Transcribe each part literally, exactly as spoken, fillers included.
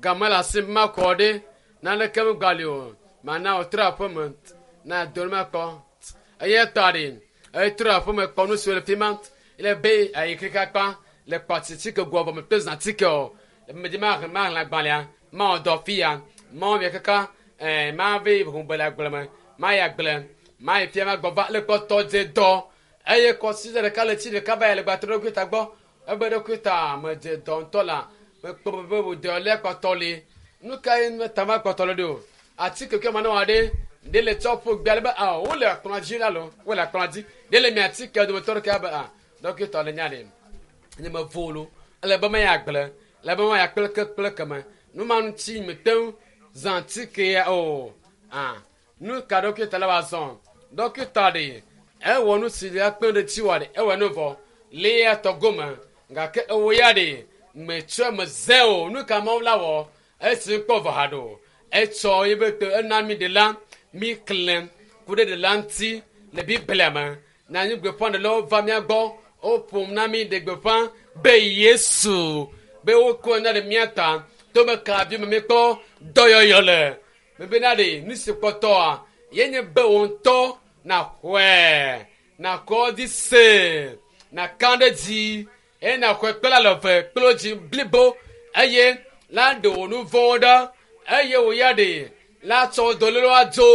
Game le asi makɔ ɖe naneke megali o. Mana wòtrɔ aƒeme na do ne makpɔ. Eya ta ɖe etrɔ aƒeme kpɔ nu siwo le fi ma. Ele be ayi keke akpa le kpatitike goa vɔ mekpe zã tike o. Medzi maxlẽ maxlẽ agbalẽa mawɔ dɔ fi ya mawɔ mia kaka ɛɛ mave ʋu le agble me mayi agble mayi fia magbɔ va le kpɔtɔ dze dɔ eye kɔsi ɖeka le tsi ɖeka va yi le gbatrɔ ɖokui ta gbɔ ebe ɖokui ta medze dɔ ŋutɔ la mekpɔ be wòdɔ lé kpɔtɔ li nu ka ye ta ma kpɔtɔ le ɖo atike ke ma ne wɔ ɖe ɖe le tsɔ ƒo gbe ale be ah wole akplɔ dzi la lo wole akplɔ dzi ɖe le mia atike dometɔ ɖeka be ah dɔkitɔ le nya ɖe nye me vo lo ele be meya agble le be meya kple ke kple keme nu ma ŋuti mete ŋu zã atike ya o ah nu ka dɔkita le wa zɔn dɔkita ɖe ewɔ nu si le kpe ɖe tsi wɔ ɖe ewɔ nu vɔ le ya tɔ gome gake ewo ya ɖe metsɔ me zɛ o nu ka mawu la wɔ esi kpɔ vɔ ha ɖo etsɔ yi be te ena mi ɖe la mi klẽ ku ɖe ɖe la ŋuti le biblia me nanyi gbeƒã ɖelawo va mía gbɔ woƒom na mi ɖe gbeƒã be yesu be wokɔ na ɖe mía ta to be kavi me míekpɔ dɔyɔyɔ le mebena ɖe nu si kpɔtɔa ye nye be wo ŋutɔ naxɔe nakɔ dzi se naka ɖe dzi eye naxɔe kple alɔve kple wo dzi blibo eye la ɖe wò nu vɔ̃wo ɖa eye wò ya ɖe la tsɔ wò dɔlélewo adzo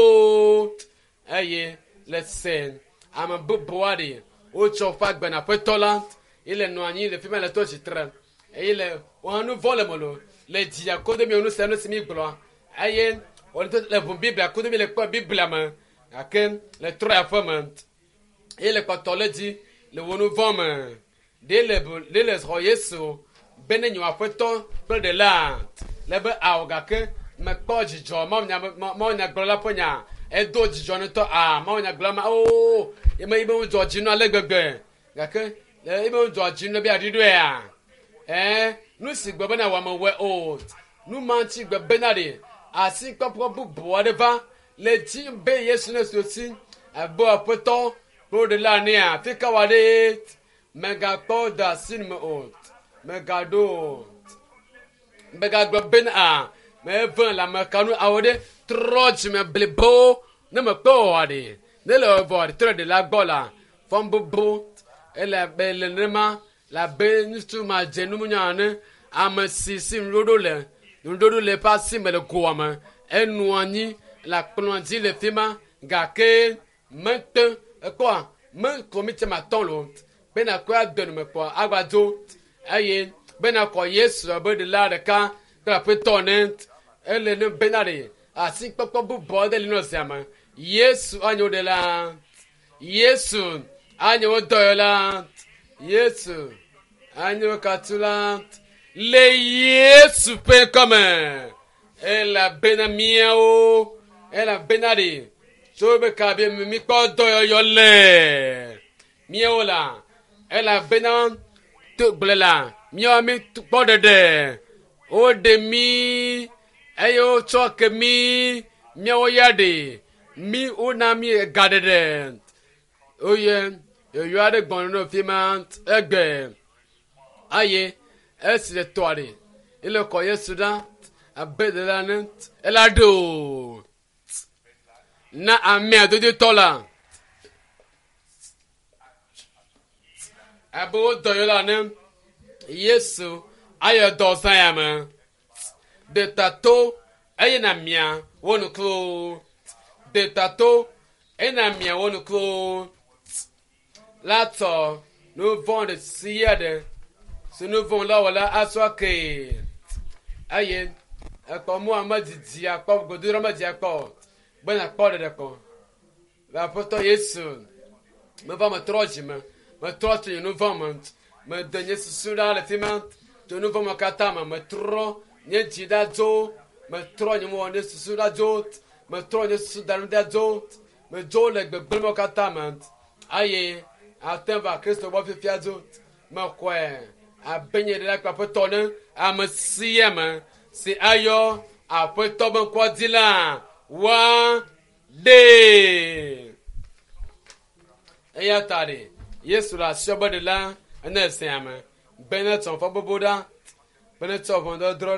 eye le se ame bubu aɖe wotsɔ woƒe agbe na aƒetɔ la ye le nɔ anyi le fi ma le tɔ tsitre eye le wohã nu vɔ̃ le me lo le dzia kodo mi nu sia nu si mi gblɔ eye wòle le ʋu biblia kodo mi le kpɔ biblia me gake le trɔ aƒe me eye le kpɔtɔ le dzi le wò nu vɔ̃ me ɖe le ɖe le xɔ yesu be ne nye aƒetɔ kple ɖela le be awo gake mekpɔ dzidzɔ mawunyagblɔla ƒe nya edo dzidzɔ ŋutɔ a mawunyagblɔla ma oo eme yi be ŋudzɔ dzi nu ale gbegbe gake le ebe ŋudzɔ dzi nu be aɖi ɖoea ɛɛ nu si gbe bena wɔame wɔe o nu ma ŋuti gbe bena ɖe asi kpɔkpɔ bubu aɖe va le dzi be yesu ne so si ebe aƒetɔ kple ɖela nea afi ka wa ɖe megakpɔ da asi me o megaɖo o megagblɔ bena a meve le ame ka nu awo ɖe trɔ dzime blibo ne mekpɔ wɔa ɖe ne le vɔ trɔ ɖela gbɔ la fɔm bubu ele abe le nenema le abe ŋutsu ma dze numunya ene ame si si nuɖoɖo le nuɖoɖo le eƒe asi me le goa me enu anyi le akplɔ dzi le fi ma gake mete ekpɔa me kɔmiti ma tɔ lo bena kɔe ade nume kpɔ agba dzo eye bena kɔ yesu abe ɖela ɖeka kple aƒetɔ ne ele ne bena ɖe asi kpɔkpɔ bubu aɖe li nɔ zia me yesu anye wo ɖela yesu anye wo dɔyɔla yesu anye wo katula le yesu ƒe ŋkɔme elabena míawo elabena ɖe tso be kabi mi kpɔ dɔyɔyɔ le míawo la elabena to gblẽ la míawo mi kpɔ ɖeɖe woɖe mí eye wotsɔ ke mí míawo ya ɖe mí wona mí ga ɖeɖe oye yɔyɔ aɖe gbɔna nɔ fi ma egbe eye esi le tɔa ɖe ele kɔ yesu ɖa abe ɖela ne ela ɖe o na amea dodotɔ la abe wo dɔyɔ la ne yesu ayɔ dɔ zã ya me ɖetato eye na mia wo nuklo ɖetato eye na mia wo nuklo la tsɔ nu vɔ̃ ɖe sia ɖe si nu vɔ̃ la wɔ la asɔ kee eye ekpɔ mu ame didi akpɔ godoɖɔ me dzi akpɔ bena kpɔ ɖeɖe kpɔ le aƒetɔ yesu meva metrɔ dzi me metrɔ tso nye nu vɔ̃ me mede nye susu ɖa le fi ma tso nu vɔ̃ me katã me metrɔ nye dzi ɖa dzo metrɔ nye mɔ nye susu ɖa dzo metrɔ nye susu da nu ɖa dzo medzo le gbegblẽ katã me eye ate va kristo gbɔ fifia dzo mexɔe abe nye ɖela kple aƒetɔ ne ame sia ame si ayɔ aƒetɔ be ŋkɔ dzi la wa ɖe eya ta ɖe yesu le asiɔ be ɖela ene esea me be ne tsɔ fɔ bobo ɖa be ne tsɔ ʋɔnudɔdrɔ̃